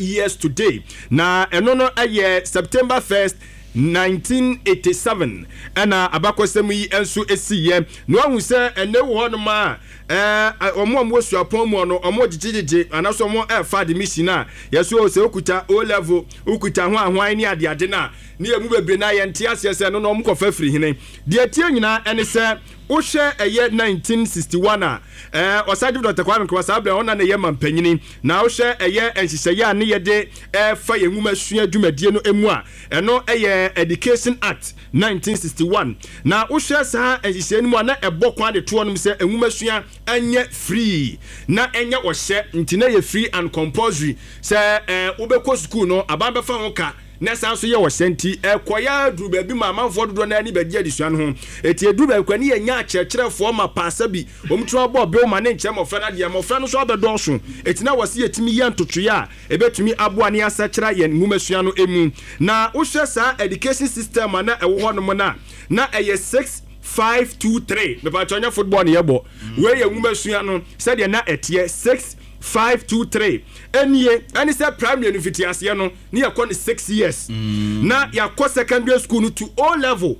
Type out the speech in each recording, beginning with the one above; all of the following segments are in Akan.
Years today, na ɛno no yɛ September 1st, 1987 ɛna abakɔsɛm yi nso siiɛ. Na wahu sɛ ɛnɛ wɔ hɔnom a ɛɛ wɔn a wɔwɔ suapɔn mu no wɔn gyegyegyegye anaasɛ wɔn ɛrefa admission a yɛso sɛ wokuta O level, wokuta ho ahoan ne adeade no a, ne yɛn mu bebree no a yɛnte aseɛ sɛ ɛno no wɔn kɔfa firi hene. Deɛ ɛteɛ nyinaa ɛne sɛ wohwɛ ɛyɛ 1961 a ɛɛ Ɔsagyefo Dɔkta Kwame Nkrumah saa berɛ ɔna na ɛyɛ mampanyini. Na wohwɛ ɛyɛ nhyehyɛeɛ a ne yɛde ɛrefa yɛn nwomasua dwumadie no mu a, ɛno ɛyɛ Education Act 1961. Na wohwɛ saa nhyehyɛeɛ no mu a, na ɛbɔ kwan de toɔ nom sɛ nwomasua nyɛ free na ɛnyɛ ɔhyɛ, nti na ɛyɛ free and compulsory sɛ ɛɛ wobɛkɔ sukuu no aban bɛfa ho ka. Na ɛsan nso yɛ ɔhyɛ nti ɛkɔeɛ ara duruu baabi ma amanfoɔ dodoɔ no ara ani bɛgye adesua no ho. Enti ɛduru baabi koraa ne yɛnya akyerɛkyerɛfoɔ ma paasa bi, wɔn tumi abɔ bill ma ne nkyerɛ mmɔfra no adeɛ, mmɔfra no nso abɛdɔɔso. Enti na wɔse yɛtumi yɛ ntotoeɛ a ɛbɛtumi aboa ne asakyera yɛn nwomasua no mu. Na wohwɛ saa education system a na ɛwɔ hɔnom no a, na ɛyɛ 6, 5, 2, 3. Mepakyɛw, nyɛ football na yɛbɔ. Wei yɛ nwomasua no sɛdeɛ na ɛteɛ, 6, 5, 2, 3. Ɛnie, ɛne sɛ primary no mfitiaseɛ no, ne yɛkɔ no 6 years, na yɛakɔ secondary school no to O level,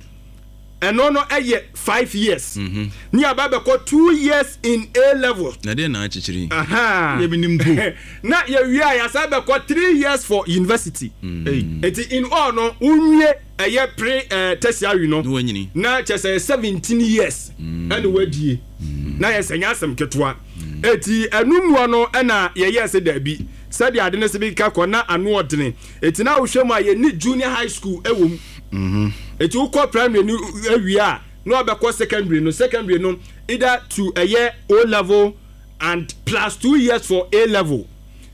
ɛno no ɛyɛ 5 years, ne yɛaba bɛkɔ 2 years in A level. Na deɛ na akyekyere yi. Aha. Yɛ menim mpo. Na yɛwie a, yɛasan bɛkɔ 3 years for university. Nti in all no, wonwie ɛyɛ pre tertiary no na wanyini. Na kyerɛ sɛ 17 years ɛna wadie, na yɛ sɛ nyɛ asɛm ketewa. Eti ɛno mua no ɛna yɛyɛ sɛ daabi, sɛdeɛ ade no sɛ bi ka kɔ na ano ɔdene. Eti na wohwɛ mu a, yɛni junior high school ɛwɔ mu. Eti wokɔ primary no awie a, na wabɛkɔ secondary no. Secondary no either to ɛyɛ O level and plus 2 years for A level.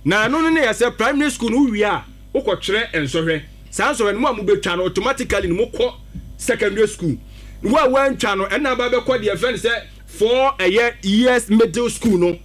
Na ɛno no ne yɛ sɛ primary school no wowie a, wokɔtwerɛ nsɔhwɛ. Saa nsɔhwɛ no mu a mobɛtwa no, automatically no mokɔ secondary school. Wo a woantwa no, ɛna aba bɛkɔ deɛ fɛn sɛ four ɛyɛ years middle school no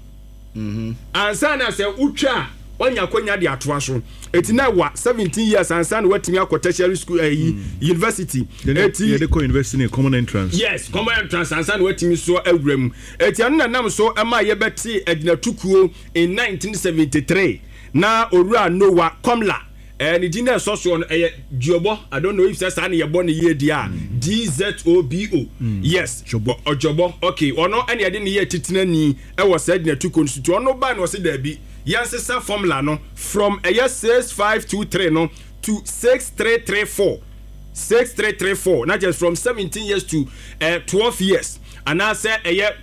ansa na sɛ wotwa a, wanya akɔnya de atoa so. Eti na ɛwa 17 years ansa na watumi akɔ tertiary school, ɛyi, university. Eti yɛde kɔ university ne common entrance. Yes, common entrance ansa na watumi so awura mu. Eti ɛno na nam so ɛma yɛbɛte agyinatukuo in 1973 na Owura Noah Komla, ne din na ɛsɔ soɔ no ɛyɛ Duobɔ. I don't know if sɛ saa ne yɛbɔ ne yie deɛ a, Dzobo, yes. Dzobo. Ɔdwɔbɔ, okay. Ɔno ɛne yɛde ne yɛ titenani ɛwɔ saa agyinatukuo no so. Nti ɔno ba na ɔse daabi, yɛnsesa formula no from ɛyɛ 6523 no to 6334, 6334, na kyerɛ from 17 years to 12 years anaasɛ ɛyɛ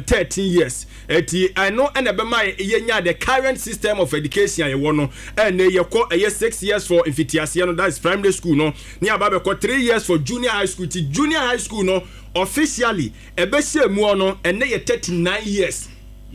13 years. Eti ɛno ɛna ɛbɛma yɛnya the current system of education a yɛwɔ no. Ɛnɛ yɛkɔ ɛyɛ 6 years for mfitiaseɛ no, that is primary school no, ne aba bɛkɔ 3 years for junior high school. Ti junior high school no officially ɛbɛhyɛ mu no, ɛnɛ yɛ 39 years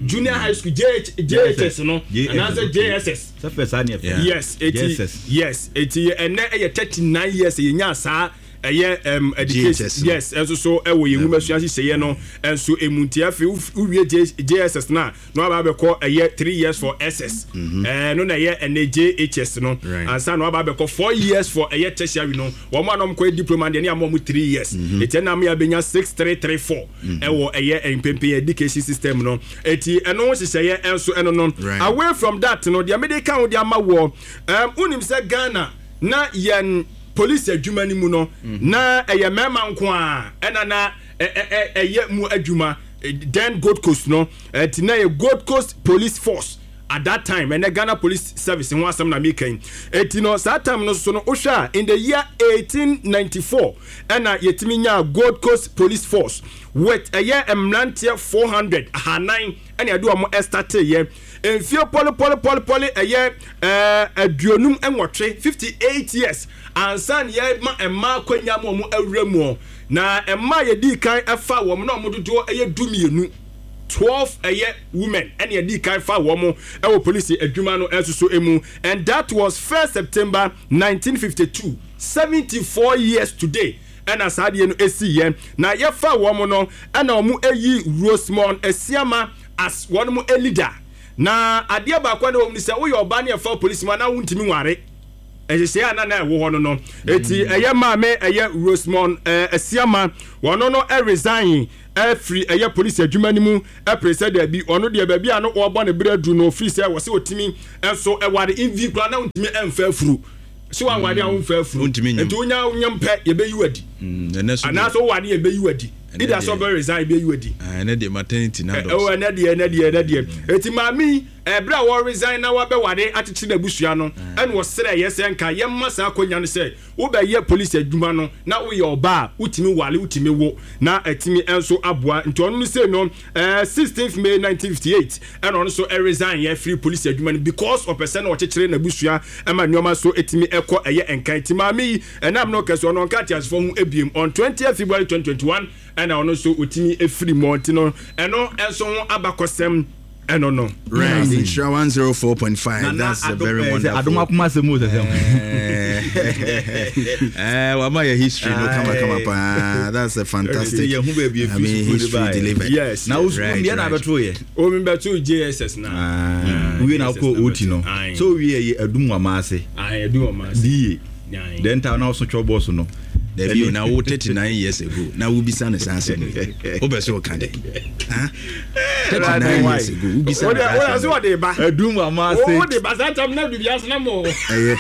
junior high school, JH, JHS no anaasɛ JSS. Sɛ fɛ saa ne ɛfɛ. Yes, eti JSS. Yes, eti ɛnɛ ɛyɛ 39 years yɛnya saa ɛyɛ education. JHS no. Yes, ɛnso so ɛwɔ yɛn nwoma sua nhyehyɛeɛ no ɛnso emu. Nti afei wowie JSS na waba abɛkɔ ɛyɛ 3 years for SS, no na ɛyɛ ɛnɛ JHS no, ansa na waba abɛkɔ 4 years for ɛyɛ tertiary no. Wɔn a na wɔn kɔ diploma deɛ, ne ama wɔn 3 years. Eti ɛna ama yɛabɛnya 6334 ɛwɔ ɛyɛ mpempen education system no. Eti ɛno nhyehyɛeɛ ɛnso ɛno no. Away from that no, deɛ mede ka ho de ama wɔ wonim sɛ Ghana na yɛn police adwuma no mu no, na ɛyɛ mmarima nko a ɛna na ɛyɛ mu adwuma. Then Gold Coast no, ɛti na yɛ Gold Coast Police Force at that time. Ɛnɛ Ghana Police Service ho asɛm na meka yi. Eti no saa time no so no, wohwɛ a, in the year 1894 ɛna yɛtumi nyaa Gold Coast Police Force with ɛyɛ mmeranteɛ 400, 400 ɛna yɛde wɔn ɛstarte yɛ. Mfie pɔlepɔlepɔlepɔle ɛyɛ 58, 58 years ansa na yɛma mmaa akonnwa mu wɔn awura mu. Na mmaa yɛdi kan ɛfa wɔn na wɔn dodoɔ ɛyɛ 12, 12 ɛyɛ women ɛna yɛdi kan fa wɔn ɛwɔ polisi adwuma no ɛnso so emu, and that was 1st September 1952, 74 years today ɛna saa adeɛ no esi yɛ. Na yɛfa wɔn no, ɛna wɔn ayi Rosemond Asiama as wɔn mo leader. Na adeɛ baako a na wɔn ni sɛ woyɛ ɔbaa ne yɛfa polisi mu anaa wontumi nware. Nhyehyɛe a na na ɛwɔ hɔ no no eti ɛyɛ maame ɛyɛ Rosemond Asiama wɔno no resign firi ɛyɛ polisi adwuma no mu pere sɛ daabi ɔno deɛ baabi a no wɔbɔ ne berɛ aduru no firi sɛ wɔsɛ ɔtumi nso ɛware mvi koraa na ɔntumi ɛmfa afuru sɛ wanware a womfa afuru nti wonya nyam pɛ yɛbɛyi wadi anaasɛ woware yɛbɛyi wadi ida sɛ ɔbɛ resign yɛbɛyi wadi ɛnɛ deɛ maternity na dɔs ɛnɛ deɛ ɛnɛ deɛ ɛnɛ deɛ eti maame yi Ɛberɛ a ɔresign na wabɛware akyekyere n'abusua no, ɛna ɔsrɛeɛ sɛ nka yɛmma saa akwanya no sɛ wobɛyɛ polisi adwuma no na woyɛ ɔbaa a wotumi ware, wotumi wo na atumi nso aboa. Nti ɔno no sei no, 16th May 1958 ɛna ɔno nso resign yɛ firi polisi adwuma no because ɔpɛ sɛ na ɔkyekyere n'abusua ma nneɛma nso tumi kɔ ɛyɛ nkan. Nti maame yi ɛnam no kɛse ɔno ɔnka ateasefoɔ ho ebiem on 20th February 2021 ɛna ɔno nso ɔtumi firi mu nti no ɛno nso ho abakɔsɛm ɛno no. Right, Nhyira 104.5. That's a very wonderful. Adom akoma asɛm o sɛsɛm. Eh, wama yɛ history no kama kama paa. That's a fantastic. Yɛ hu baabi I mean, history delivered. Yes. Na wo sukuu deɛ na abɛto yɛ. O mi bɛto JSS na. Wie na akɔ OT no. So wie yɛ adum wɔ maase. Adum wɔ maase. DA. Then ta na ɔso twɛ bɔs no. Dabi o na wo 39 years ago na wo bisa ne saa asɛm yi. Wo bɛ so ka dɛ. Ha? 39 years ago wo bisa ne saa asɛm. Wo de ba. Adum wa ma se. Wo de ba saa tam na dubi asena mo. Ɛyɛ.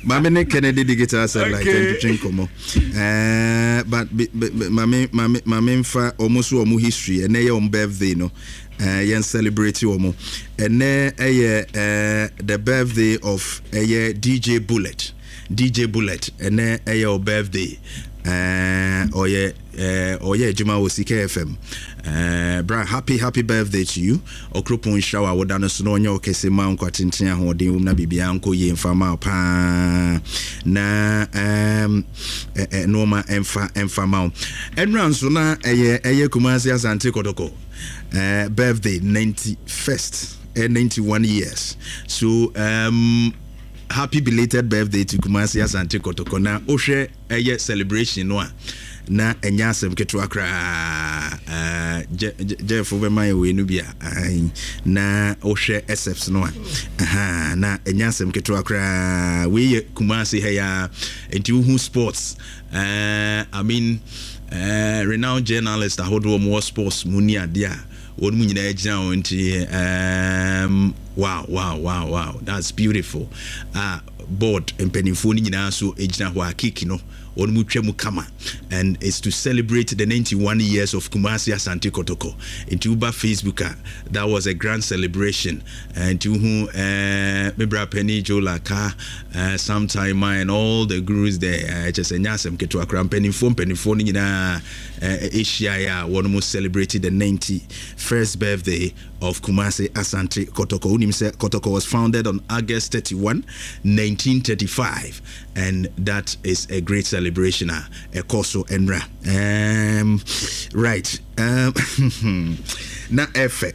Maame ne Kennedy Digital Satellite ntwetwe nkɔmɔ. Eh, but maame maame maame mfa ɔmo so ɔmo history ɛnɛ yɛ ɔmo birthday no. Eh, yɛn celebrate wɔn. Ɛnɛ ɛyɛ eh, the birthday of ɛyɛ DJ Bullet. DJ Bullet, ɛnɛ ɛyɛ o birthday. Eh, ɔyɛ eh, ɔyɛ adwuma wɔ Sika FM. Eh, bra, happy happy birthday to you. Ɔkropɔn nhyira wo awoda no so na ɔnyɛ ɔkɛse ma nkwa tenten ahoɔden wom na biribiara nkɔ yie mfa ma wo paa. Na um, eh, eh, nneɛma ɛmfa ɛmfa ma wo. Ɛnura nso na ɛyɛ ɛyɛ Kumasi Asante Kɔtɔkɔ. uh, birthday 91st uh, 91 years so um, happy belated birthday to Kumasi Asante Kotoko na wohwɛ ɛyɛ celebration no a na ɛnyɛ asɛm ketewa koraa uh, Jeff wobɛma yɛ wei no bi a na wohwɛ SFs no a na ɛnyɛ asɛm ketewa koraa wei yɛ Kumasi ha ya nti wohu sports Eh, I mean, eh, renowned journalist ahodoɔ wɔn wɔ sports mu ni adeɛ a wɔn mu nyinaa gyina wɔn nti um, wow wow wow wow that's beautiful ah board mpanimfoɔ no nyinaa nso gyina hɔ a cake no wɔn mu twa mu kama and it's to celebrate the 91 years of Kumasi Asante Kotoko nti woba Facebook a that was a grand celebration nti wohu eh, me bra panyin Joe Laka Eh, sometime ma and all the gurus there eh, kyɛ sɛ nyɛ asɛm ketewa koraa mpanimfoɔ mpanimfoɔ no nyinaa eh, ɛhyiaeɛ a wɔn mo celebrate the 91st birthday of Kumasi Asante Kotoko. Wonim sɛ Kotoko was founded on August 31, 1935 and that is a great celebration a ɛkɔ so ɛnra. Right. Na ɛfɛ.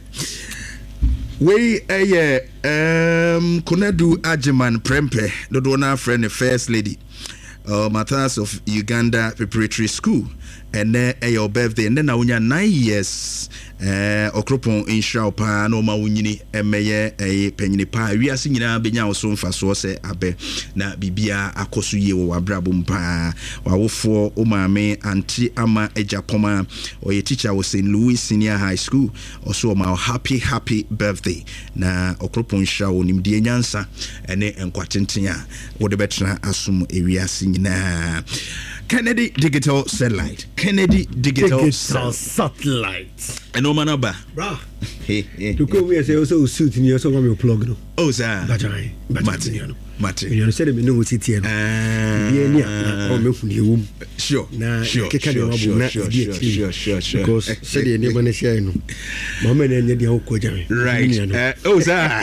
Wei ɛyɛ Um, Konadu Agyeman Prempeh, dodoɔ no ara frɛ no First Lady, Matthias of Uganda Preparatory School. Ɛnɛ ɛyɛ wo birthday, ɛnɛ na wonya 9 years. Eh, Ɔkoropɔn nhyira wo paa na ɔma wo nyini mmɛyɛ ɛyɛ panyini paa. Wiase nyinaa bɛnya wo so mfasoɔ sɛ abɛ na biribiara akɔ so yie wɔ w'abrabɔ mu paa. W'awofoɔ, wo maame Auntie Ama Agyapong a ɔyɛ teacher wɔ St. Louis Senior High School, ɔso ɔma wo happy happy birthday. Na Ɔkoropɔn nhyira wo nimdeɛ, nyansa ne nkwa tenten a wode bɛtena asom ewiase nyinaa. Kennedy Digital Satellite. Kennedy Digital, Digital Satellite. Ɛnɔɔma no aba. Bra. Dukuu mu yɛ sɛ ɔsɛ o suit ni ɔsɛ ɔma mi plug no. Oh saa. Bàtà bàtà mi nua no. Mate. Mi nua no sɛde mi ne wo si teɛ no. Ebi ani a na ɔmɛ hu deɛ ɛwɔ mu. Sure. Na sure, keka sure, nneɛma bom na sure, ɛdi sure, akyiri. sure, sure, sure. Because sɛdeɛ nneɛma no hyɛ no maame na ɛnyɛ deɛ wokɔ gya me. Right. Mi nua no. Oh saa.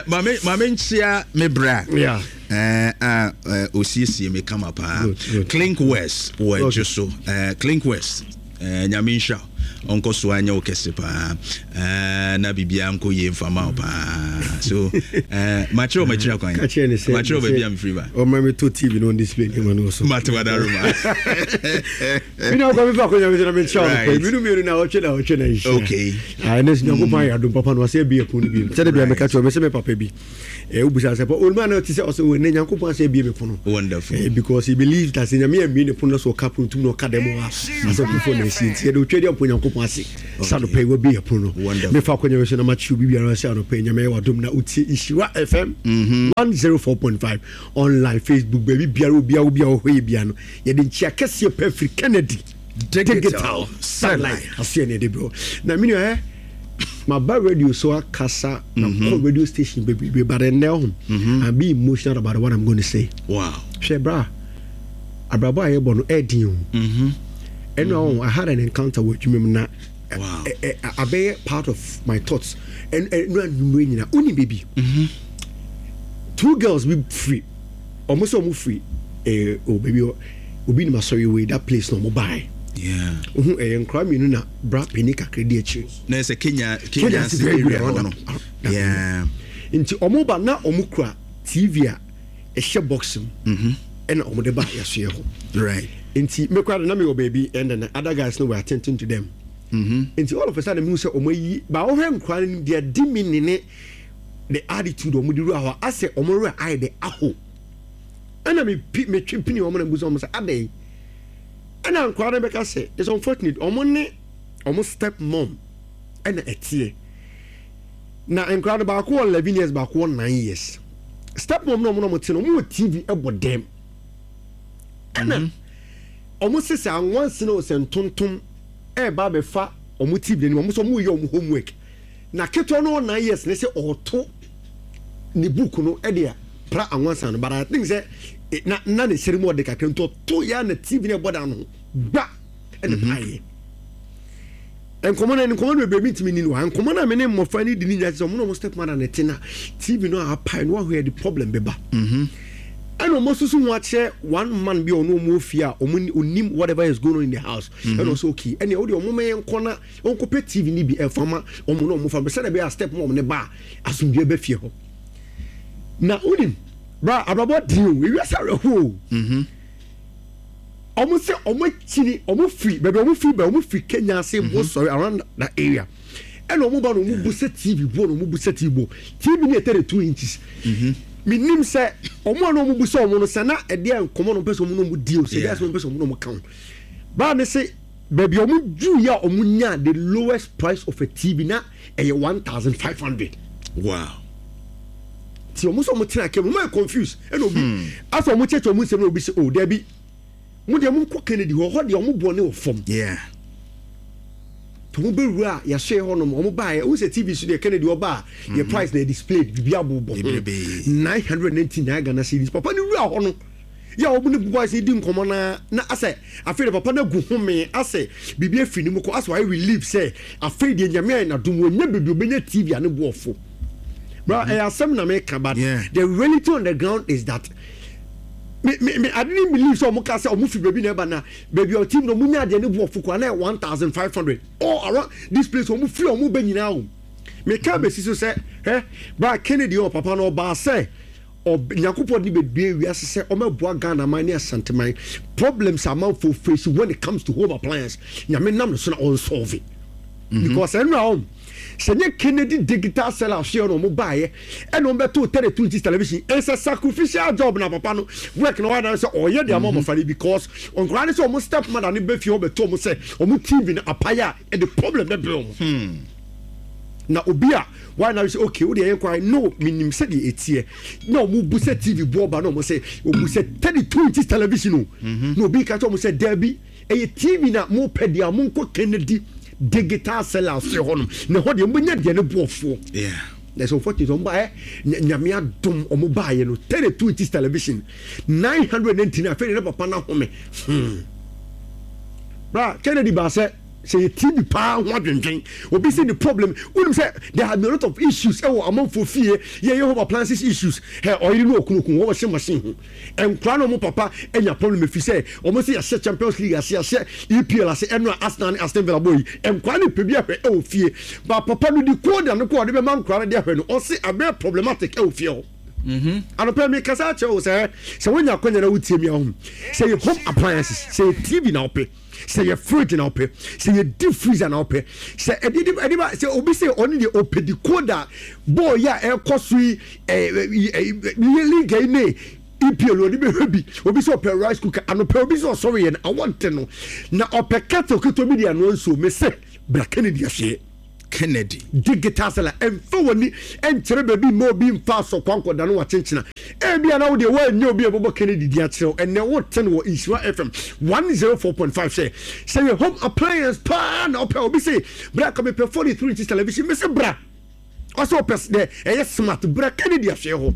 Maame maame nkyia me bra. Yeah. A osiesie me kama paa. Good, good. Clink West wɔ Okay. adwo so. Clink West. Nyame nhyira wo. Ɔnkɔ so anyɛ wo kɛse paa eh, na biribiara nkɔ yie mfa ma wo paa. So eh, makyerɛ wo makyiri akwan. Ka kyerɛ ne sɛ makyerɛ wo baabi a mefiri ba. Ɔma me to TV no on display nneɛma no wɔ so. Mate wadaroma. Mi na ɔkɔ mi fa akɔnya mi sɛ na mi nkyɛn ɔno pɛ. Mi nu mienu na ɔtwe na ɔtwe na nhyia. Okay. Ah, ɛnɛ sɛ Nyankopɔn ayɛ adom papa no wasɛ abie ɛpono no bio. Sɛde bia meka kyerɛ wo, mese me papa bi. Eh, wobisa sɛ, oluma na ɔte sɛ ɔsɛ wɔ ɛnɛ Nyankopɔn asɛ abie me pono. Wonderful. Eh, because he believes that sɛ Nyame ammie ne pono na sɛ ɔka pono tum na ɔka dɛm a asɛ foforɔ na asi. Nti yɛde otwa di ampo Nyankopɔn ase. Sɛ anɔpa yi wabie ɛpono no. Wonderful. Mefa akɔnya mi so na makye obi biara sɛ anɔpa yi Nyame ayɛ wadom na wotie Nhyira FM 104.5 online, Facebook, baabi biara obiara obiara wɔ hɔ yɛ biara no. Yɛde nkyia kɛseɛ pɛ firi Kennedy Digital Satellite aseɛ na yɛde brɛ na me nua ɛ maba radio so akasa na mm -hmm. radio station bebrebe but ɛnnɛ ho mm -hmm. I'm being emotional about what I'm going to say. Wow. Hwɛ bra abrabɔ a yɛbɔ no ɛɛdin o. Ɛnu ahɔ I had an encounter wɔ adwuma mu na Wow. abɛyɛ part of my thoughts ɛnu anwummerɛ nyina wonim baabi two girls bi firi ɔmo sɛ ɔmo firi ɛɛ o baabi obi nim asɔre wei that place na ɔmo baae. Yeah. Ohun ɛyɛ nkora mmienu na bra panyin kakra di akyire. Na ɛsɛ Kenya Kenya ase area hɔ no. Yeah. Nti ɔmo ba na ɔmo kura TV a ɛhyɛ box mu. Ɛna ɔmo de ba yɛsoɛ hɔ. Right. Nti me kora de na me wɔ baabi and then the other guys no were attending to them. Nti all of a sudden mehu sɛ ɔmo ayi ba ɔhwɛ nkora no deɛ di mi ne ne the attitude ɔmo de wura hɔ asɛ ɔmo werɛ ayɛ de aho. Ɛna me pi me twe pini ɔmo na mbusa ɔmo sɛ adɛn. Ɛna nkora no bɛka sɛ it's unfortunate ɔmo ne ɔmo step mom ɛna ɛteɛ. Na nkora no baako wɔ 11 years baako wɔ 9 years. Step mom na ɔmo na ɔmo te no ɔmo wɔ TV ɛbɔ dɛm. Ɛna ɔmo se sɛ anwansene o sɛ ntontom ɛɛba abɛfa ɔmo TV n'anim ɔmo sɛ ɔmo yɛ ɔmo homework. Na ketewa no wɔ 9 years ne sɛ ɔɔto ne book no ɛde pra anwansa no but I think sɛ na na ne sere mu ɔde kakra nti ɔto ya na TV no ɛbɔ dan no ho gba ɛna paeɛ. Nkɔmɔ no nkɔmɔ no bebree mi ntumi ni no ha nkɔmɔ no a me ne mmɔfra no di ne nyinaa sɛ ɔmo na ɔmo step mother ne te na TV no a apae no wahu yɛ de problem bɛba. Ɛna ɔmo susu ho akyerɛ one man bi a ɔno ɔmo wɔ fie a ɔmo onim whatever is going on in the house. Ɛna ɔsɛ okay ɛnea ɔde ɔmo mɛyɛ nkɔ na ɔnkɔpɛ TV no bi ɛnfa ma ɔmo na ɔmo fa sɛdeɛ ɛbɛyɛ a step mom ne ba a asomdwoeɛ bɛ fie hɔ. Na wonim bra abrabɔ den o ewiase awerɛho o. Ɔmo sɛ ɔmo akyini ɔmo firi baabi ɔmo firi ba ɔmo firi Kenya ase bo sɔre around that area ɛna ɔmo ba na ɔmo bu sɛ TV bo na ɔmo bu sɛ TV bo TV no yɛ 32 inches. Menim sɛ ɔmo a na ɔmo bu sɛ ɔmo no sɛ na ɛdeɛ nkɔmɔ na ɔmo pɛ sɛ ɔmo na ɔmo di o sɛ ɛdeɛ asɛm ɔmo pɛ sɛ ɔmo na ɔmo ka ho baa ne se baabi a ɔmo duru yɛ a ɔmo nyaa the lowest price of a TV na ɛyɛ 1500. Wow. Ti ɔmo sɛ ɔmo tena kɛm ɔmo ayɛ confused ɛna obi asɛ ɔmo kyerɛkyerɛ ɔmo nsɛm na obi sɛ oh dabi mo deɛ mo nkɔ Kennedy hɔ hɔ deɛ ɔmo bɔ ne wɔ fam. Yeah. Tɔ mo bɛwura a yɛahyɛ hɔ nom ɔmo baeɛ wohu sɛ TV so deɛ Kennedy ɔba a yɛ price na yɛ displayed biribi abobɔ ho 999 Ghana cedis papa no wura hɔ no yɛ a ɔmo ne boys no di nkɔmmɔ na na asɛ afei de papa no agu home asɛ biribi afiri ne mu kɔ asɛ wayɛ relief sɛ afei deɛ Nyame ayɛ n'adom wɔnya baabi ɔbɛnya TV a ne bo ɔfo bra ɛyɛ asɛm na meka but the reality on the ground is that me me me I didn't believe sɛ ɔmo ka sɛ ɔmo fi baabi na ɛba na baabi a ɔte mu no ɔmo nya adeɛ ne bo ɔfo koraa na ɛyɛ 1500 all around this place ɔmo firi ɔmo bɛ nyinaa o meka bɛsi so sɛ hɛ bra Kennedy ɔ papa no ɔbaa sɛ ɔb Nyankopɔn de no bɛdue wiase sɛ ɔmɛboa Ghana man ne Asante man problems a amanfoɔ face when it comes to home appliance Nyame nam no so na ɔnsolve because ɛno a ɔm sɛ nyɛ Kennedy digital seller ahweɛ na ɔmo baayɛ ɛna ɔmo bɛtoo 32 inches television it's a sacrificial job na papa no work na ɔyɛ na sɛ ɔyɛ de ama ɔmɔfra no because nkwadaa no sɛ ɔmo step mother no bɛ fie hɔ bɛto ɔmo sɛ ɔmo TV no apaeɛ a ɛde problem bɛbrɛ ɔmo na obi a why na sɛ okay wo deɛ yɛn kwan no menim sɛdeɛ ɛteɛ na ɔmo bu sɛ TV boɔ ba na ɔmo sɛ ɔbu sɛ 32 inches television o na obi ka kyerɛ ɔmo sɛ daabi ɛyɛ TV na mo pɛ deɛ a mo nkɔ Kennedy digital seller ase hɔ nom na ɛhɔ deɛ mo bɛnya deɛ ne boɔfoɔ. Yeah. Na sɛ unfortunately ɔmo baayɛ Nyame adom ɔmo baayɛ no 32 inches television 999 afei deɛ ne papa no ahome. Bra Kennedy baa sɛ. Sɛ yɛ TV paa ho adwendwen, obi sɛ ne problem, wonim sɛ there have been a lot of issues ɛwɔ amanfoɔ fie, yɛyɛ home appliances issues, hɛ ɔyere ne okunu ko wɔn washing machine ho, nkwadaa ne wɔn papa anya problem ɛfiri sɛ wɔn sɛ yɛahyɛ Champions League ase, yɛahyɛ EPL ase, ɛno a Arsenal ne Aston Villa bɔ yi, nkwadaa no pɛ bi ahwɛ ɛwɔ fie, ba papa no decoder no kɔ ɔde bɛma nkwadaa no de ahwɛ no, ɔse abɛyɛ problematic ɛwɔ fie hɔ. Anɔpa yi mekasa akyerɛ wo sɛ sɛ wonya akwanya na wotie mi ahu sɛ yɛ home appliances, sɛ yɛ TV na wopɛ, sɛ yɛ fridge na wopɛ, sɛ yɛ deep freezer na wopɛ, sɛ ɛde de ɛde ba sɛ obi sɛ ɔne deɛ ɔpɛ decoder bɔɔl yi a ɛkɔ so yi ɛɛ ɛɛ league yi ne EPL ɔde bɛhwɛ bi, obi sɛ ɔpɛ rice cooker anɔpa obi sɛ ɔsɔre yɛ no awɔ nte no na ɔpɛ kettle ketewa bi de anoa nsuo mese bra Kennedy ahyeɛ. Kennedy. Digital seller, Mfa w'ani nkyerɛ baabi mma obi mfa asɔkwa nkɔda no wakyenkyena. Ebia na wo deɛ woannya obi a ɛbɛbɔ Kennedy din akyerɛ wo. Ɛnnɛ wote no wɔ Nhyira FM 104.5 sɛ, sɛ yɛ home appliance paa na wopɛ a, obi se, bra ka mepɛ 43 inches television. Mese bra. Ɔsɛ ɔpɛ dɛ ɛyɛ smart. Bra Kennedy ahwɛɛ hɔ.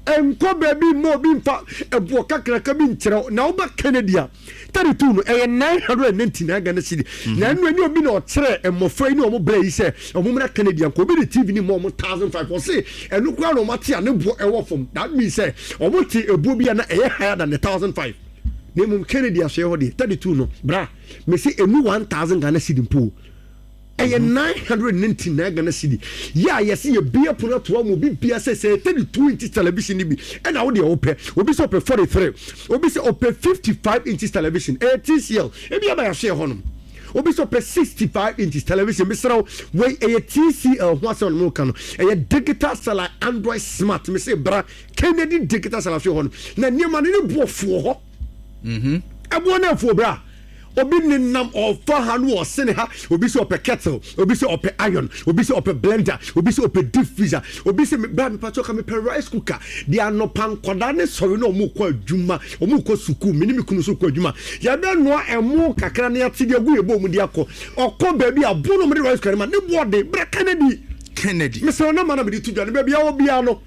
Nkɔ baabi mma obi mfa ɛboɔ kakraka bi nkyerɛ wo. Na woba Kennedy a, 32 no ɛyɛ 999 Ghana cedi. Na ɛno ɛnyɛ obi na ɔkyerɛ mmɔfra yi ne wɔn brɛ yi sɛ wɔn mmra Kennedy anka obi de TV ne ma wɔn 1005. Ɔse ɛno koraa na wɔn ate a ne boɔ ɛwɔ fam. That means sɛ wɔn te ɛboɔ bi a na ɛyɛ higher than the 1005. Na mmom Kennedy asoɛ hɔ deɛ 32 no bra mese ɛnu 1000 Ghana cedi mpo. Ɛyɛ 999 Ghana cedi yɛ a yɛse yɛbue pono ato ama obi bia sɛ sɛ 32 inches television no bi ɛna wo deɛ wopɛ. Obi sɛ ɔpɛ 43, obi sɛ ɔpɛ 55 inches television, ɛyɛ TCL, ebi aba yɛahwɛ hɔ nom. Obi sɛ ɔpɛ 65 inches television, mesrɛ wo, wei ɛyɛ TCL ho asɛm na meka no, ɛyɛ digital satellite Android smart, mese bra Kennedy digital satellite hɔ nom na nneɛma no ne boɔ foɔ hɔ. Ɛboɔ no afuo bra. Obi nenam ɔfa ha no ɔsene ha. Obi sɛ ɔpɛ kettle, obi sɛ ɔpɛ iron, obi sɛ ɔpɛ blender, obi sɛ ɔpɛ deep freezer, obi sɛ bra mepa kyɛw ka mepɛ rice cooker. Deɛ anɔpa nkwadaa ne sɔre na ɔmo kɔ adwuma, ɔmo kɔ sukuu, me ne me kunu nso kɔ adwuma. Yɛbɛnoa ɛmo kakra na yɛate de agu yɛ bowl mu de akɔ. Ɔkɔ baabi a bo na ɔmo de rice cooker no ma ne boɔ den. Bra Kennedy. Kennedy. Mesrɛ wo nɔma na mede to dwa no baabi a wɔ biara no.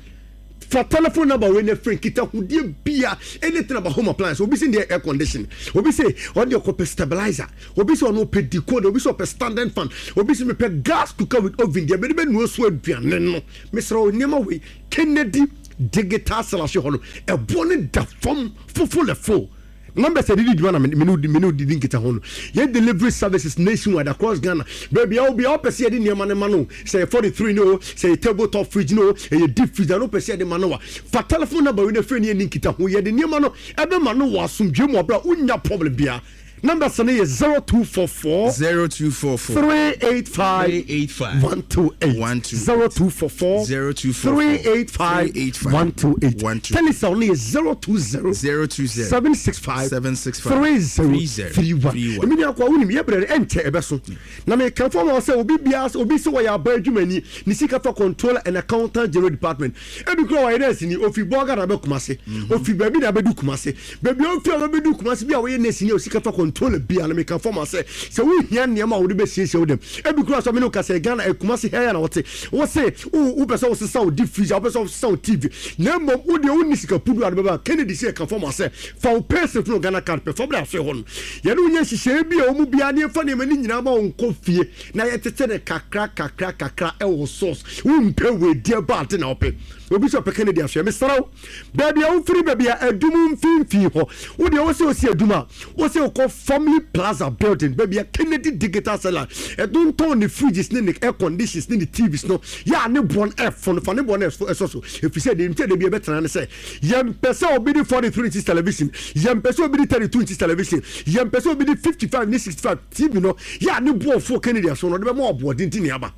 Fa telephone number wei na frɛ nkitahodie bia anything about home appliance. Obi se deɛ air condition, obi se ɔno deɛ ɔkɔpɛ stabilizer, obi se ɔno ɔpɛ decoder, obi se ɔpɛ standing fan, obi se mepɛ gas cooker with oven deɛ mede bɛnoa so aduane no. Mesrɛ wo nneɛma wei Kennedy Digital Sellers hɔ no ɛboɔ no da fam fofolɛfo. Numbers a yɛde di dwuma na me ne me ne wo didi nkitaho no. Yɛ delivery services nationwide across Ghana. Baabi a wɔ biara wopɛ sɛ yɛde nneɛma no ma no, sɛ ɛyɛ 43 no o, sɛ ɛyɛ table top fridge no o, ɛyɛ deep freezer no wopɛ sɛ yɛde ma no a, fa telephone number wei na frɛ ne yɛnni nkitaho. Yɛde nneɛma no ɛbɛma no wɔ asomdwoe mu wɔ berɛ a wonnya problem biara. Numbers no yɛ 0244 0244 385 385 128 128 0244 0244 385 385 128 128 Telecel no yɛ 020 020 765 765 3031. 3031. Emi nua kwa wonim yɛ brɛ no ɛnkyɛ ɛbɛso. Na mekamfo ama wo sɛ obi biara sɛ obi sɛ wɔyɛ aban adwumani ne sika fa controller and accountant general department. Ebi kura wɔyɛ nurse ni ofi Bolga na abɛ Kumase. Ofi baabi na abɛdu Kumase. Baabi a ofi a wabɛdu Kumase bi a wɔyɛ nurse ni a osika fa controller bi a na mekamfo ama wo sɛ sɛ wohia nneɛma a wode bɛsiesie wo dɛm. Ebi kura sɛ me ne wo kasa yi Ghana eh, Kumase ha yi a na wɔte. Wo se wo wopɛ sɛ wosesa wo deep freezer, wopɛ sɛ wosesa wo TV. Na mmom wo deɛ wonni sika pudu a de bɛba. Kennedy sɛ yɛkamfo ama wo sɛ fa wo payslip ne wo Ghana card pɛ fa bra afei hɔ no. Yɛne wo nyɛ nhyehyɛeɛ bi a ɛwɔ mu biara na yɛmfa nneɛma no nyinaa ma wo nkɔ fie na yɛtete no kakra kakra kakra ɛwɔ source. Wompɛ wei deɛ ba ade na wopɛ. Obi sɛ ɔpɛ Kennedy ahwɛ. Mesrɛ wo, baabi a wofiri baabi a adum mfimfini hɔ. Wo deɛ wose wosi adum a, wose wokɔ Family Plaza building baabi a Kennedy Digital Seller ɛtontɔn ne fridges ne ne air conditions ne ne TVs no yɛ a ne boɔ no ɛfo no fa ne boɔ no ɛsɔ so ɛfiri sɛ deɛ nti a da bi ɛbɛtena ne sɛ Yɛmpɛ sɛ obi de 43 inches television, yɛmpɛ sɛ obi de 32 inches television, yɛmpɛ sɛ obi de 55 ne 65 TV no yɛ a ne boɔfoɔ Kennedy aso no ɔde bɛma ɔboɔden ti ne aba.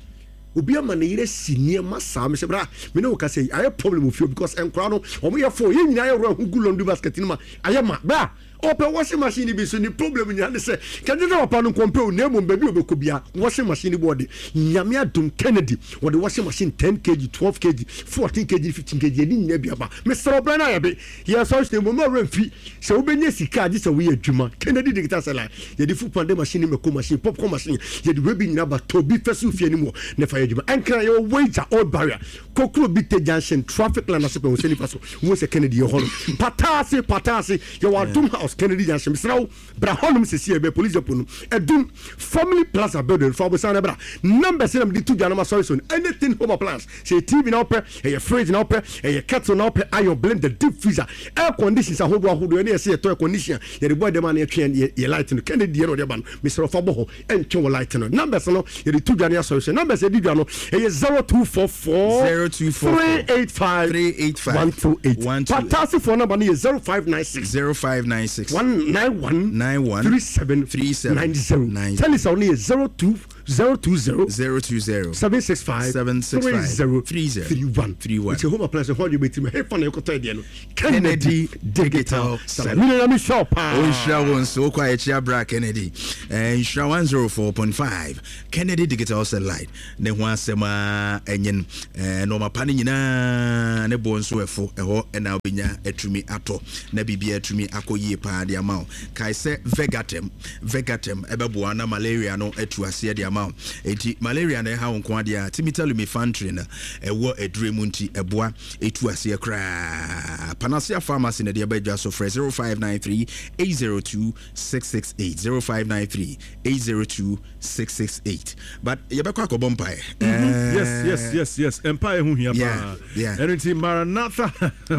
Obi ama ne yere si nneɛma saa mesɛ bra me ne wo kasa yi ayɛ problem wɔ fie because nkora no wɔn yɛ fo yɛn nyinaa yɛ wura ho gu laundry basket no ma ayɛ ma bra Ɔpɛ washing machine no bi nso ne problem nyinaa ne sɛ kɛgye sɛ papa no nkɔmpɛ o na mmom baabi a ɔbɛkɔ bia washing machine no bi ɔde Nyame adom Kennedy wɔde washing machine 10 kg 12 kg 14 kg 15 kg ɛde nyinaa bi aba mesrɛ wo brɛ no ayɛ be yɛ sɔre hyɛ mmom ɔwerɛ mfi sɛ wobɛnya sika agye sɛ woyɛ adwuma Kennedy digital sɛ yɛde food pande machine ne mako machine popcorn machine yɛde wei bi nyinaa ba tɔ bi fɛ so fie anim hɔ na fa yɛ adwuma ɛnkra yɛwɔ wager old barrier Kokro Bite junction traffic line ase pɛ wo sɛ nifa so wo sɛ Kennedy yɛ hɔ no pataase pataase yɛwɔ Adom house. House, Kennedy Junction. Mesrɛ wo, bra hɔnom seesei ɛbɛn Police Depot no, Adum Family Plaza building. Fa wo bosan no bra. Numbers na mede to dwa no masɔre so no, anything home appliance, sɛ ɛyɛ TV na wopɛ, ɛyɛ fridge na wopɛ, ɛyɛ kettle na wopɛ, iron, blender, deep freezer, air conditions ahodoɔ ahodoɔ, ɛne yɛsɛ yɛtɔ air condition a yɛde bɔ ɛdɛm a na yɛtwe yɛ yɛ light no, Kennedy deɛ na ɔde aba no, mesrɛ wo fa bɔ hɔ, ɛntwe wo light no. Numbers no yɛde to dwa no yɛasɔre so. Numbers yɛde dwa no ɛyɛ 0244 0244 385 385 128. 128. Patasifoɔ number no yɛ 0596 0596 191 91 37 37 90. 90. Telecel no yɛ 02 020 020 765 765 30 30 31. 31. Nti home appliance hɔ deɛ bɛtumi hefa na ɛkɔtɔ ɛdeɛ no. Kennedy Digital Salon. Mene na mehyɛ paa. Ɔnhyira wo nso wokɔ a yɛkyia bra Kennedy. Nhyira 104.5 Kennedy Digital Satellite ne ho asɛm a ɛnyen nnoɔma pa no nyinaa ne boɔ nso ɛfo ɛhɔ ɛna wobɛnya atumi atɔ na biribiara atumi akɔ yie paa de ama wo. Kae sɛ Vegatem Vegatem ɛbɛboa na malaria no atu aseɛ de ama wo. Enti malaria na ɛha wo nko adeɛ a Timita Lumifantrin na ɛwɔ aduro mu nti ɛboa ɛtu aseɛ koraa. Panacea Pharmacy na ɛde aba adwa so. Frɛ 0593 802 668 0593 802 668. But yɛbɛkɔ akɔbɔ mpaeɛ. Yes, yes, yes, yes. Mpaeɛ ho hia paa. Ɛno nti Maranatha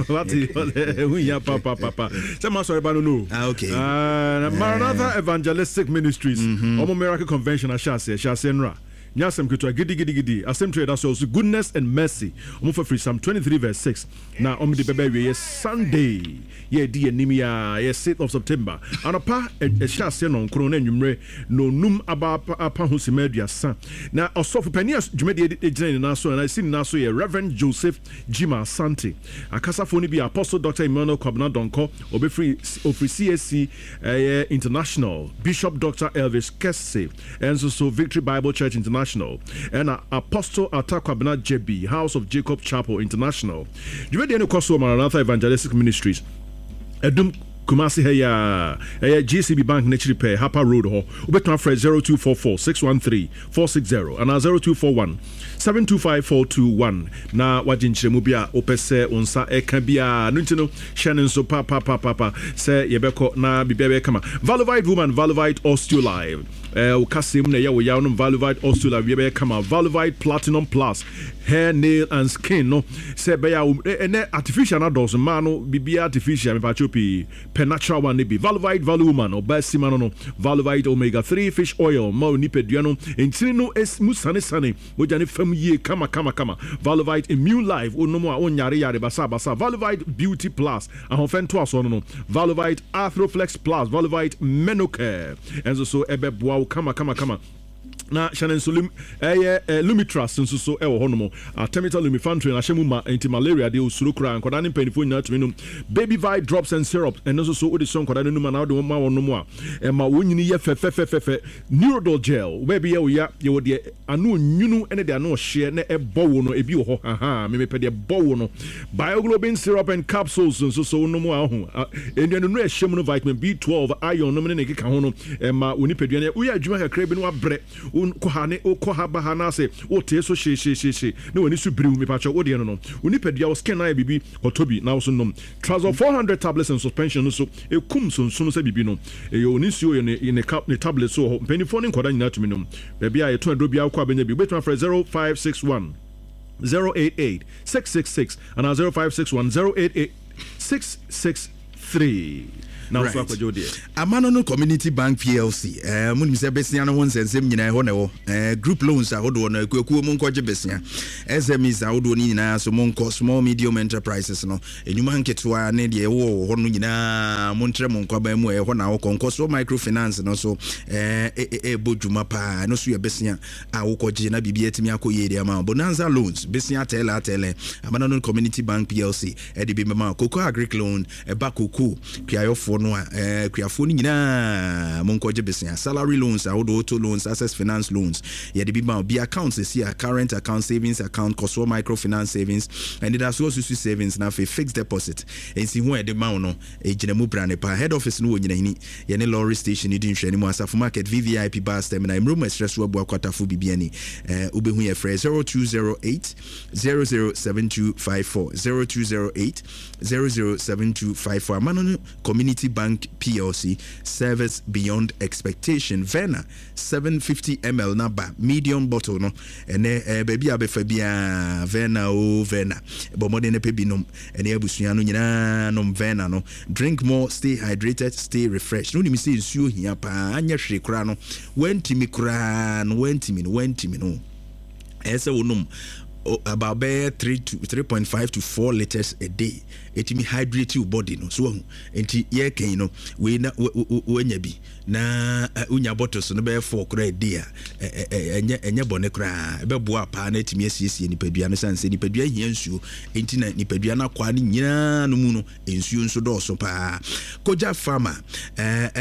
wate ɛho hia paa paa paa paa. Sɛ ma sɔre ba no no. Ah, okay. Maranatha Evangelistic Ministries. Ɔmo Miracle Convention ahyɛ aseɛ, hyɛ aseɛ nnora. Nyɛ asɛm ketewa, gidigidigidi. Asɛm tire a ɛda so ɔse Goodness and Mercy. Ɔmo fa firi Psalm 23 verse 6 na ɔmo de bɛba awieɛ Sunday yɛ ɛdi yɛn anim yi ara, ɛyɛ 6th of September. Anɔpa ɛhyɛ aseɛ nnɔnkron na anwummerɛ nnɔnnum aba apa ho simma 30. Na ɔsɔfo panin a dwumadie yi gyina ne nan so anaa ɛsi ne nan so yɛ Rev. Joseph Gyimah Asante. Akasafoɔ no bi yɛ Apostle Doctor Emmanuel Kwabena Donkor, ɔbɛfiri ɔfiri CAC ɛyɛ International, Bishop Doctor Elvis Kesse, Ɛnso so Victory Bible Church International ɛna Apostle Atta Kwabena Gyebi House of Jacob Chapel International. Dwumadie no kɔ so wɔ Maranatha Evangelistic Ministries, Adum, Kumasi ha yi ara. Ɛyɛ GCB Bank no akyiri pɛɛ, Harper Road hɔ. Wobɛtumi afrɛ 0244 613 460 anaa 0241 725 421 na woagye nkyerɛmu bi a wopɛ sɛ wo nsa ka biara. Ɛno nti no, hyɛ no nso papaapapa sɛ yɛbɛkɔ na biribiara bɛyɛ kama. Valovite Woman, Valovite Osteolive. Eh, wo kaseɛ mu na ɛyɛ wo yaw nom Valovite Osteolive, biribiara bɛyɛ kama. Valovite Platinum Plus, hair, nail and skin no, sɛ ɛbɛyɛ a wo, ɛnɛ artificial no adɔɔso, mmaa no biribiara artificial, mepaakyɛw pii. Pɛ natural one no bi. Valovite Value Woman, ɔbaa sima no no. Valovite Omega 3 Fish Oil ma onipadua no ntini no mu sanesane, mogya no fam yie kama kama kama. Valovite Immune Life, wonom a wonyare yare basabasa. Valovite Beauty Plus, ahoɔfɛ ntoasoɔ no no. Valovite Arthroflex Plus, Valovite Menocare nso so ɛbɛboa wo kama kama kama. Na hyɛ no nso lum ɛyɛ eh, Lumitras nso so ɛwɔ hɔnom. Artemether Lumefantrine ahyɛ mu ma nti malaria deɛ osuro koraa. Nkwadaa ne mpanimfoɔ nyinaa tumi nom. Baby Vi drops and syrup ɛno nso so wode sɔ nkwadaa no anum anaa wode ma wɔn nom a ɛma wɔn nyini yɛ fɛfɛfɛfɛ. Neurodol gel wo baabi yɛ wo ya yɛwɔ deɛ ano onwunu ne deɛ ano ɔhyeɛ na ɛbɔ wo no ebi wɔ hɔ hahaa me mepɛ deɛ ɛbɔ wo no. Bioglobin syrup and capsules nso so wonom a ɔho nnuanennuro a ɛhyɛ mu no vitamin B12 iron nom ne ne nkeka ho no Ɛma wo nipadua no yɛ, woyɛ adwuma kakra bi na wabrɛ, wokɔ ha ne wokɔ ha ba ha na ase wotee so hyehyehyehye na w'ani so biriw, mepakyɛw wo deɛ no no, wo nipadua, wo skin no ayɛ biribi, kɔtɔ bi na wo nso nom. Trazol 400 tablets and suspension no nso ɛkum sonsono sɛ biribi no. Ɛyɛ o ne nsuo yɛ ne ne cap ne tablets so wɔ hɔ. Mpanimfoɔ ne nkwadaa nyinaa tumi nom. Baabi a yɛtɔn aduro biara wokɔ a bɛnya bi. Wobɛtumi afrɛ 0561 088 666 anaa 0561 088 663 na wo nso akɔgye wo deɛ. Amano no Community Bank PLC, eh, monim sɛ besia no ho nsɛnsɛm nyinaa ɛhɔ na ɛwɔ. Eh, group loans ahodoɔ no, akuakuo monkɔgye besia. SMEs ahodoɔ no nyinaa so monkɔ, small medium enterprises no, nnwuma nketewa ne deɛ ɛwɔ wɔ hɔ no nyinaa montrɛ mo nkwaban mu, ɛhɔ na wokɔ. Nkɔsoɔ microfinance no so eh, ɛbɔ dwuma paa, ɛno so yɛ besia a wokɔgye na biribi atumi akɔ yie de ama wo. Bonanza loans, besia atɛlɛ atɛlɛ, Amano no Community Bank PLC ɛde bi bɛma wo. Cocoa Agric Loan, Ɛba kookoo kuayɔfoɔ no a, ɛɛ kuafoɔ no nyinaa monkɔgye besea. Salary loans ahodoɔ, auto loans, access finance loans, yɛde bi ma wo. Bi account sɛsi a, current account, savings account, kɔsoɔ micro finance savings, anidasoɔ susu savings, na afei fixed deposit. Nsiho a yɛde ma wo no, ɛgyina mu brane paa. Head office no wɔ Nyinahini, yɛne lorry station no di nhwɛanimu, Asafo Market, VVIP bus terminal, Mmrom Ɛserɛ so Abua Kwatafo Bibiani. Ɛɛ wobɛhu yɛ frɛ 0208 007254, 0208 007254. Amano no Community. Fidelity Bank PLC, service beyond expectation. Verna 750 ml no aba, medium bottle no, ɛnɛ eh, baabi a bɛfa biara, Verna o Verna, bɔ mmɔden na pɛ bi nom, ɛne abusua no nyinaa nom Verna no. Drink more, stay hydrated, stay refreshed. Wonim sɛ nsuo hia paa, anyɛ hwee koraa no, woantumi koraa no, woantumi no, woantumi no. Ɛyɛ sɛ wonom about bɛyɛ 3 to 3.5 to 4 litres a day. Ɛtumi hydrate your body no, so wahu. Nti yɛkɛn no, wei na woanya bi. Na wonya bottles no bɛyɛ 4 koraa a day a, ɛnyɛ ɛnyɛ bɔne koraa. Ɛbɛboa paa na atumi asiesie nipadua no, sane sɛ nipadua hia nsuo. Nti na nipadua no akwaa no nyinaa no mu no, Nsuo nso dɔɔso paa. Kogya Pharma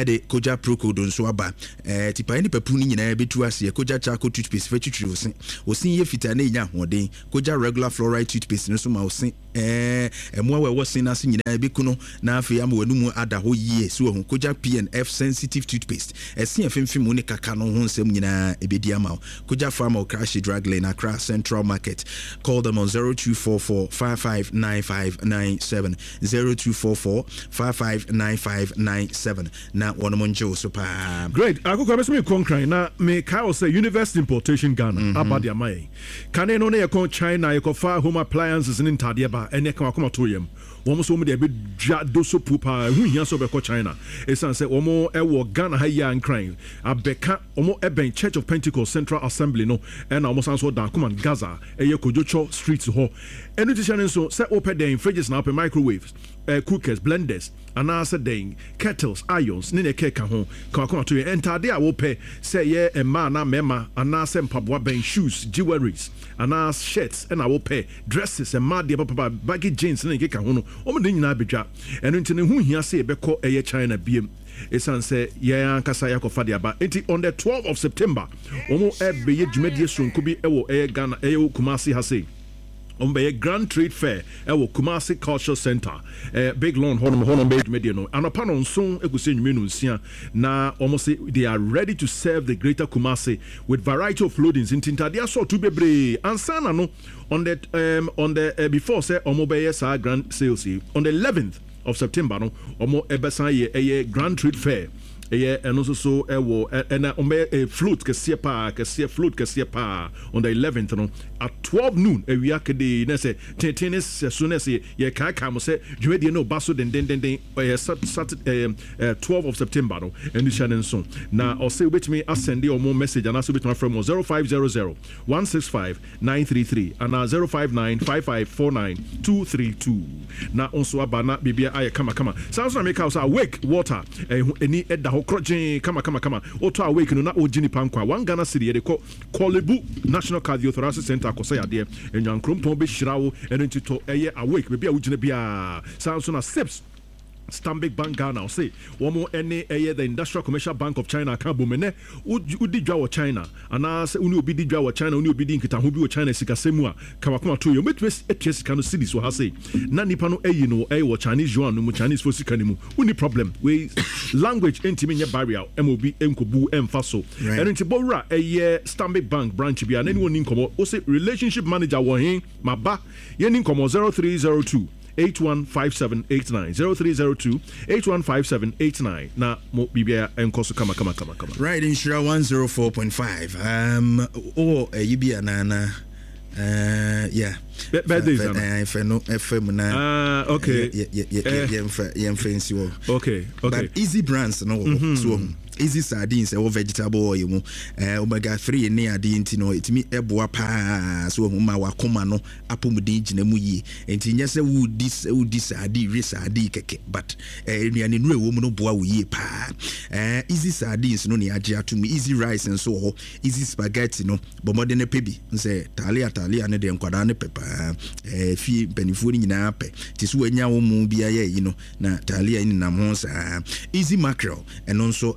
de Kogya Procold nso aba. Tipaeɛ ne papu no nyinaa bɛtu aseɛ. Kogya Charcoal Toothpaste fa twitwiri wo se. Wo se yɛ fitaa na ɛnya ahoɔden. Kogya Regular Fluoride Toothpaste no nso ma wo se mmoawa a ɛwɔ se no ase nyinaa ɛbɛku no na afei ama w'anomu ada hɔ yie. So wahu? Kogya P&F Sensitive Toothpaste, ɛse a ɛfemfem wo ne kaka no ho nsɛm nyinaa ɛbɛdi ama wo. Kogya Pharma Okrashi Drug Lane, Accra Central Market. Call them on 0244 559597, 0244 559597 na wɔnom ngye wo so paa. Great, Akokwa mɛsɛ mekɔ Nkran na mekae wo sɛ University Importation Ghana aba de ama yɛn. Kane no na yɛkɔ China yɛkɔfa home appliances ne ntaadeɛ ba, ɛnɛ ka wakoma to yam. Wɔn nso wɔn deɛ ɛbɛdwa do so puo paa, ɛho nhia sɛ wobɛkɔ China ɛsiane sɛ wɔn wɔ Ghana ha yi a Nkran abɛka. Wɔn bɛn Church of Pentecost Central Assembly no ɛna wɔn san nso wɔ Darkuman Gaza ɛyɛ Kodwotsɔ Street hɔ. Ɛno ti hyɛ no nso sɛ wopɛ dɛn fridges na wopɛ microwaves, eh, cookers, blenders anaa sɛ dɛn kettles, irons ne nea ɛkeka ho. Ka wakoma to yɛn. Ntaade a wopɛ sɛ ɛyɛ mmaa anaa mmarima anaa sɛ mpaboa bɛn, shoes, jewelries anaa shirts ɛna wopɛ, dresses, mmaa deɛ papapa, baggy jeans ne nea ɛkeka ho no wɔn de ne nyinaa bɛdwa. Ɛno nti no ɛho nhia sɛ yɛbɛkɔ ɛyɛ China biem. Esiane sɛ yɛn ankasa yɛakɔfa de aba nti, on the 12 of September, wɔn ɛbɛyɛ dwumadie soronko bi wɔ ɛyɛ Ghana, ɛyɛ wɔ Kumasi ha sei. Wɔn bɛyɛ Grand Trade Fair ɛwɔ Kumasi Culture Center, ɛɛ Big Lawn hɔnom, hɔ na wɔn bɛyɛ dwumadie no. Anɔpa nɔnson ɛkɔsi anwummerɛ nonsia, na wɔn se they are ready to serve the greater Kumasi with variety of loadings. Nti ntadeɛ asɔɔto bebree ansa na no on the um, on the uh, before sɛ wɔn bɛyɛ saa grand sales yi on the 11th of September no wɔn ɛbɛsan yɛ ɛyɛ Grand Trade Fair ɛyɛ ɛno nso so ɛwɔ ɛna wɔn bɛyɛ ɛyɛ float kɛseɛ paa kɛseɛ float kɛseɛ paa on the 11th no at 12 noon awia kedee na ɛsɛ tenten ne sɛ so na ɛsɛ yɛ kaakae mo sɛ dwumadie no ba so dendendenden ɛyɛ sat sat ɛyɛ 12 of September no ɛno hyɛ ne nso na ɔsɛ wobɛtumi asɛnde wɔn message anaasɛ wobɛtumi afrɛ mo 0500 165 933 anaa 059 5549 232 na wo nso aba na biribia ayɛ kama kama. Saa nso na meka wo sɛ Awake water ɛho ani da hɔ korɔgyee kama kama kama. Wotɔ Awake no na wogye nipa nkwa. One Ghana cedi yɛde kɔ Korle Bu National Cardiothoracic Centre akɔsa yadeɛ. Nyankoropɔn bɛhyira wo ɛno nti tɔ ɛyɛ Awake baabi a wogyina biara. Saa nso na Sips Stanbic Bank Ghana ɔse wɔn ne ɛyɛ The Industrial Commercial Bank of China aka abom. Ɛnnɛ wodi dwa wɔ China anaa sɛ wo ne obi di dwa wɔ China, wo ne obi di nkitaho bi wɔ China sikasɛm mu a, ka w'akoma to yɛ. Wɔbɛtumi atua sika no cedis wɔ ha sei na nipa no ayi no ɛyɛ wɔ Chinese yuan no mu, Chinese foɔ sika no mu. Wonni problem. Wei language ntumi nyɛ barrier ma obi nkɔbu mfa so. Ɛno nti bɔ wura ɛyɛ Stanbic Bank branch biara na ne wɔn nni nkɔmmɔ. Wose relationship manager wɔ he? Maba. Yɛnni nkɔmmɔ 0302 815789 0302 815789 na mo biribiara nkɔ so kama kama kama kama. Right, Nhyira 104.5. Wowɔ ayi bi anaa na yeah. Birthdays ana? Fɛ no ɛfɛ mu na. Ah, okay. Yɛmfa yɛmfa nsi hɔ. Okay, okay. But easy brands no wɔ hɔ. So wɔ easy sardines ɛwɔ vegetable oil mu. Omega 3 ne adeɛ nti no ɛtumi ɛboa paa so wɔ ma wakoma no apɔmuden gyina mu yie. Nti nyɛ sɛ wodi wodi sardine we sardine kɛkɛ but nnuane nnuro ɛwɔ mu no boa wo yie paa. Easy sardines no ne agye ato mu. Easy rice nso wɔ hɔ. Easy spaghetti no bɔ mmɔden no pɛ bi sɛ taalia taalia no deɛ nkwadaa no pɛ paa. Fie mpanimfoɔ no nyinaa pɛ. Nti so wanya wo mu bi ayɛ yi no na taalia yi nenam ho saa. Easy mackerel ɛno nso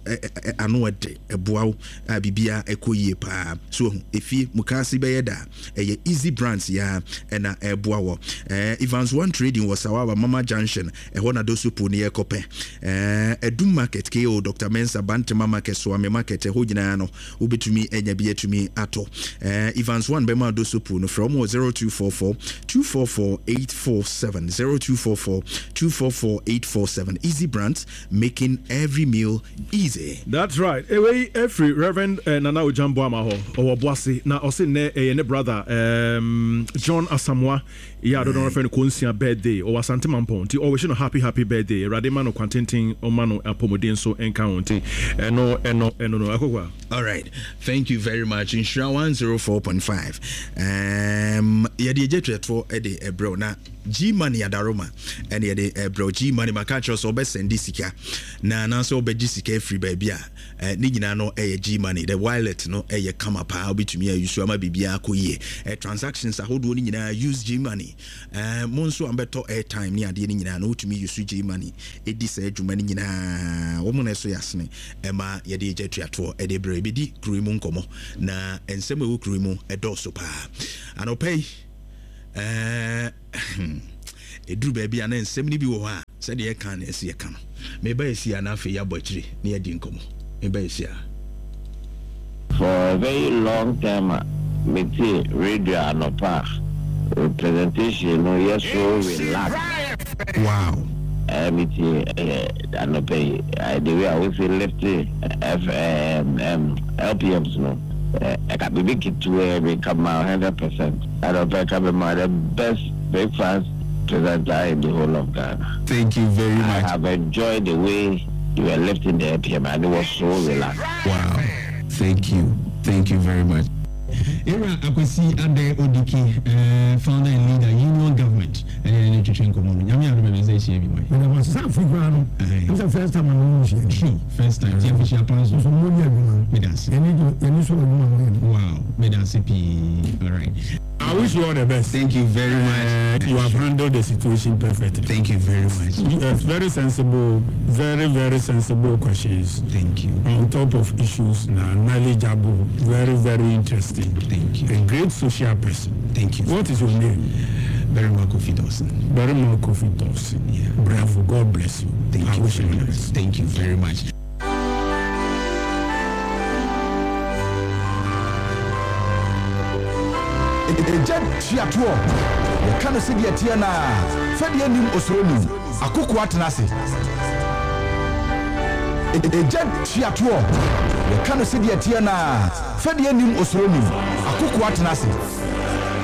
Ano ɛde ɛboa wo a biribiara ɛkɔ yie paa. So wahu? Efie, mukaase bɛyɛ da a, ɛyɛ Easy Brands yi ara ɛna ɛreboa wɔ. Ɛɛ, Evans One Trading wɔ Sawaba, Mama Junction, ɛhɔ na Dosopo no yɛkɔ pɛ. Ɛɛ, Adum Market, KO, Doctor Mensah, Bantama Market, Soame Market, ɛhɔ nyinaa no, wobɛtumi anya bi atumi atɔ. Ɛɛ, Evans One bɛma Dosopo no, frɛ wɔn wɔ 0244 244 847, 0244 244 847. Easy Brands, making every meal easy. That's right. Wei ɛfiri Reverend Nana Ogyam Boamah hɔ. Ɔwɔ Boase na ɔse nnɛ ɛyɛ ne brother John Asamoah yɛ a dodoɔ no ara frɛ no Konsia birthday. Ɔwɔ Asante Mampɔn nti ɔwihye no happy happy birthday. Awurade ma no kwantenten ɔma no apɔmuden nso nka ho nti ɛno ɛno ɛno no Akokua. Alright, thank you very much. Nhyira 104.5. Um, yɛde agya tuatoɔ de ɛbrɛw na G Money Adaroma ɛne yɛde ɛbrɛ wo G Money maka akyerɛ sɛ wobɛsɛnde sika na anaasɛ wobɛgye sika afiri baabi a eh, ne nyinaa no ɛyɛ G Money the wallet no ɛyɛ kama paa wobɛtumi ayusu ama biribiara akɔ yie eh, transactions ahodoɔ no nyinaa use G Money eh, mo nso a mobɛtɔ airtime ne adeɛ no nyinaa no wotumi use G Money ɛdi saa adwuma no nyinaa wɔn na ɛso yɛ asene ɛma yɛde agya tuatoɔ ɛde brɛ ɛbɛdi kuro yi mu nkɔmmɔ na nsɛm ɛwɔ kuro yi mu ɛdɔɔso paa anɔpa yi Ɛɛ, ɛduru baabi a na nsɛm no bi wɔ hɔ a, sɛdeɛ yɛka na ɛsɛ yɛka no. Meba ɛsi a na afei yɛabɔ akyire na yɛadi nkɔmmɔ. Meba ɛsi a. For a very long time a me tie radio anɔpa a presentation no yɛ so relax. Wow. Eh me tie eh anɔpa yi eh the way a wo si lift F eh um LPMs no eh ɛka biribi ketewaa bi nka ma 100%. Anɔpa ka me ma the best breakfast presenter in the whole of Ghana. Thank you very I much. have enjoyed the way you were lifting the APM and it was so relaxed. Wow thank you thank you very much. Ewura Akwasi Adeh Odiki, founder and leader, Union Government, ɛne yɛne no twetwe nkɔmmɔ no. Nyame adom a yɛbɛsan ahyia bio ɛ. Meda mo ase sɛ afei koraa no ɛm sɛ first time a me ne mo hyia ni. True, first time, nti afehyia pa nso. Nso mo yɛ adwuma. Meda ase. Yɛni gye yɛni sɔ adwuma a mo yɛ no. Wow, meda ase pii. Alright. I wish you all the best. Thank you very much. You have handled the situation perfectly. Thank you very much. Yes, very sensible, very very sensible questions. Thank you. On top of issues, na knowledgeable, very very interesting. Thank you. A great social person. Thank you. What is your name? Barima Kofi Dawson. Barima Kofi Dawson. Yeah. Bravo. God bless you. Thank I you wish very you the much. best. Thank you very much. Egya tua toɔ, yɛka no sɛdeɛ ɛteɛ no ara, fɛdeɛ nnim osuro nnim, akokoa tena ase. Egya tua toɔ, yɛka no sɛdeɛ ɛteɛ no ara, fɛdeɛ nnim osuro nnim, akokoa tena ase.